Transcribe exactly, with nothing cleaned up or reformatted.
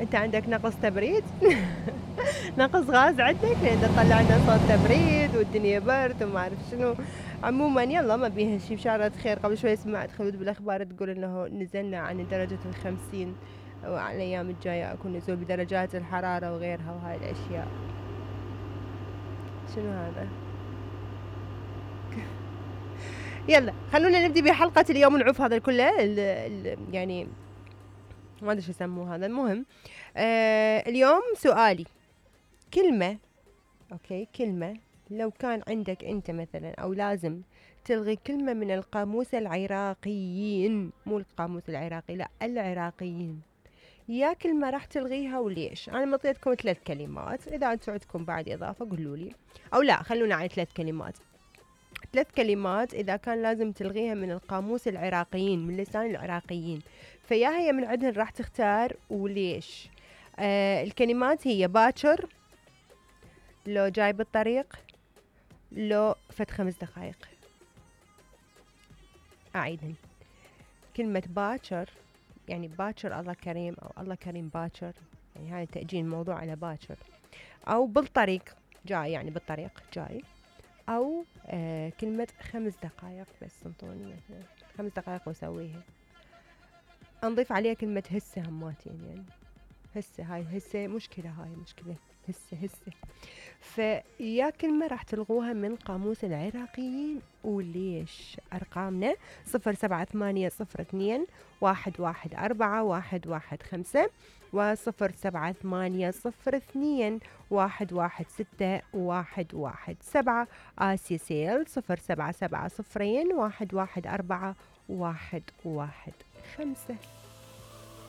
انت عندك نقص تبريد؟ نقص غاز عندك لان تطلع لنا صوت تبريد والدنيا برد وما اعرف شنو. عموما يلا ما بيها شي، بشارة خير. قبل شوي سمعت خلود بالاخبار تقول انه نزلنا عن درجة الخمسين، وعلى الايام الجاية اكو نزول بدرجات الحرارة وغيرها وهاي الاشياء. شنو هذا؟ يلا خلونا نبدي بحلقة اليوم ونعوف هذا كله ال ال يعني ما ادري شو يسموه هذا. المهم آه اليوم سؤالي كلمة، اوكي كلمة لو كان عندك انت مثلا او لازم تلغي كلمة من القاموس العراقيين، مو القاموس العراقي لا العراقيين، يا كلمة راح تلغيها وليش؟ انا مطيتكم ثلاث كلمات، اذا انتم عندكم بعد اضافة قولوا لي، او لا خلونا على ثلاث كلمات. ثلاث كلمات اذا كان لازم تلغيها من القاموس العراقيين، من لسان العراقيين، فيا هي من عندهن راح تختار وليش؟ آه الكلمات هي باكر، لو جاي بالطريق، لو فت خمس دقايق. أعيدهن. كلمة باكر يعني باكر الله كريم، أو الله كريم باكر، يعني هاي تأجيل الموضوع على باكر، أو بالطريق جاي يعني بالطريق جاي، أو آه كلمة خمس دقايق بس انطوني مثلا خمس دقايق وأسويها. نضيف عليها كلمة هسه هماتين يعني هسه، هاي هسه مشكلة، هاي مشكلة هسه هسه. فيا كلمة راح تلغوها من قاموس العراقيين وليش؟ أرقامنا صفر سبعة ثمانية صفر اثنين واحد واحد أربعة واحد واحد خمسة وصفر سبعة ثمانية صفر اثنين واحد واحد ستة واحد واحد سبعة. آسيا سيل صفر سبعة سبعة صفرين واحد واحد أربعة واحد واحد خمسة.